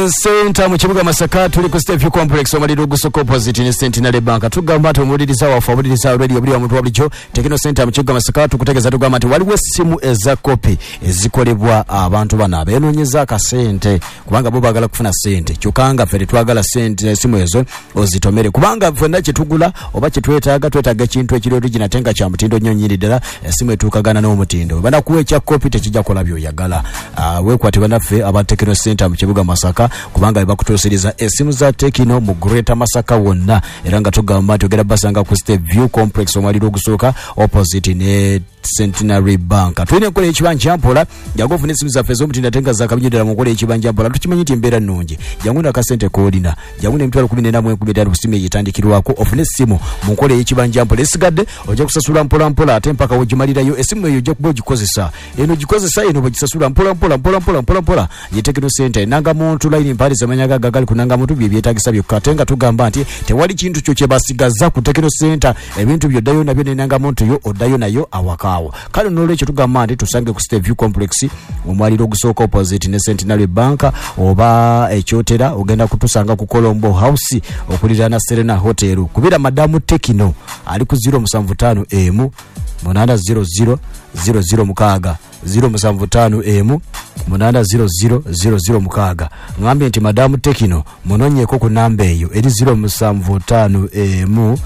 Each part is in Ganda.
Techno Center mu kibuga Masaka, tuli ku Step Complex omalira ogusooka opposite ne Centenary Bank. Tugamba nti omuwuliriza waffe, awuliriza radio buli omuntu wa bulijjo, Techno Center mu kibuga Masaka tukutegeeza, tugamba nti waliwo essimu eza kopi ezikolebwa abantu bano abeenoonyeza akasente, kubanga bo baagala kufuna ssente, kyokka nga ffe tetwagala ssente. Essimu ezo ozitomere, kubanga ffenna kyetugula oba kyetwetaaga, twetaaga ekintu ekiri original ate nga kya mutindo nnyo nnyini ddala, essimu etuukagana n'omutindo. Banakuwa ekya kopi, tekijja kukola by'oyagala. Weekwate bannaffe aba Techno Center mu kibuga Masaka, kubanga bebakutuusiriza essimu za Techno mu Greater Masaka wonna. Era nga tugamba nti ogenda basanga ku Step View Complex, omwaliro ogusooka opposite ne Centenary Bank. Tulina enkola ekibanja mpola. Jangu ofune esimu zaffe ez'omutindo ate nga zakabinyo ddala mu nkola ekibanja mpola. Tukimanyi nti embeera nnungi, jangu nakasente koolina, jangu n'14,500 ku simu eyo etandikirwako, ofune essimu mu nkola ey'ekibanja mpola. Esigadde ojja kusasula mpola mpola ate mpaka wegimalirayo. Essimu eyo ojja kuba ogikozesa, eno ogikozesa, eno bwegisasula mpola mpola mpola mpola mpola mpola. Ye Techno Center enanga muntu layini mpaali zamanya gaga gali kunanga muntu bye byetagisa byokka, ate nga tugamba nti tewali kintu kyo kye basigaza ku Techno Center. Ebintu byoddayo nabyo nenanga muntu yo, oddayo nayo awakaawo. Kale nolwekyo tugamba nti tusange ku Step View Complex, omwaliro ogusooka opposite ne Centenary Bank, oba ekyotera ogenda kutusanga ku Colombo House okuliraana Serena Hotel. Kubira Madamu Techno ali ku 075 emu 800 006, 075 emu 800 006. Ngambye nti Madamu Techno munonyeeko ku namba eyo eri 075 emu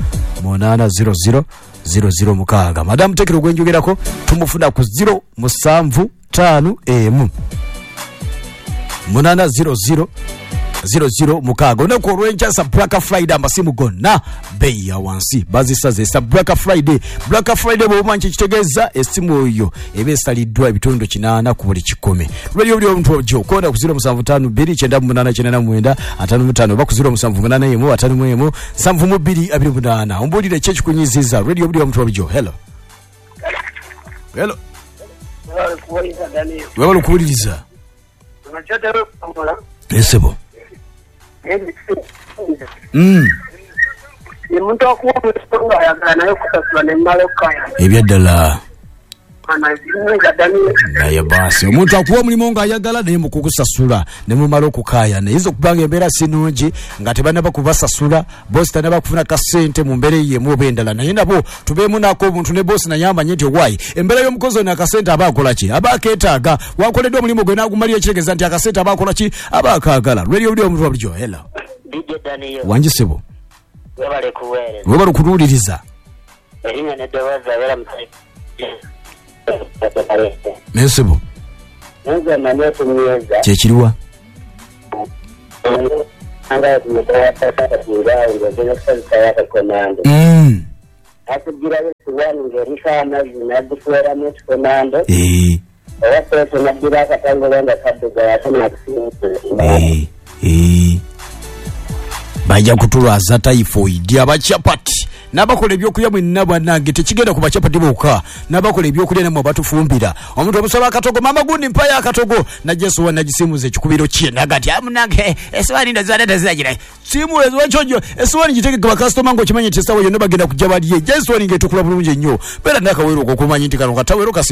800 006. Madamu Techno gwenjogerako tumufuna ku 075 emu 800 006. Olunaku olwenkya sa Black Friday, amasimu gonna beeyi ya wansi bazisaze sa Black Friday. Black Friday bw'omanyi kyekitegeeza, essimu eyo eba esaliddwa ebitundu 80 ku buli 100. Lweri buli omuntu ojjo okonda ku 075 2 98 99 55 oba ku 078 51 72 28. Ombuulire ki ekikunyiziza. Radio buli omuntu olijjo, hello, hello. Webale okuwuliriza esebo. Omuntu akuwa omulimu ng'ayagala naye okusasula nemmala okukaya. Ebyaddala. Naye baasi omuntu akuwa omulimu ng'ayagala, naye mukukusasula ne mumala okukaayana. Eyinza okuba nga embeera si nnungi nga tebannaba kubasasula, boosi tannaba kufuna kasente mu mbeera eyo emu oba endala, naye nabo tubeemu naako obuntu, ne boosi naye amanye nti owaayi embeera y'omukozi ono akasente aba akola ki, aba akeetaaga. Wakoleddwa omulimu gwe n'agumalira, kitegeeza nti akasente aba akola ki, aba akaagala. Lweri obuli omuntu wa bulijjo, hello. DJ Daniel. Wangi ssebo. Webale kuweereza. Webale okutuwuliriza. Erinnya n'eddoboozi abeera mu Nesebo. Nze mmanyi ekinyiiza. Kyekiriwa? Nga kumutawataawo ng'ogenda kukozesa akakomando. Akugirayo esiwaani ng'eriko amazzi n'agikuweramu ekikomando. Oba seetu n'addira akatangolo nga kaddugala ate n'akusiimuula. Bajja kutulwaza typhoid abachapati n'abakola ebyokulya mwenna. Bannange, tekigenda ku bachapati bokka, n'abakola ebyokulya nammwe batufumbira. Omuntu omusaba akatogo, mama gundi mpayo akatogo, najja esowaani nagisiimuza ekikubiro kye, naga nti amunange esowaani ndazibadde teziragira siimula ekiwakyonjo. Esowaani gitegeke bakasitoma ng'okimanyi nti essaawa yonna bagenda kujja balye. Jja esowaani ng'etukula bulungi ennyo, beera nakawero okokumanyi nti kano katawero kasiimu.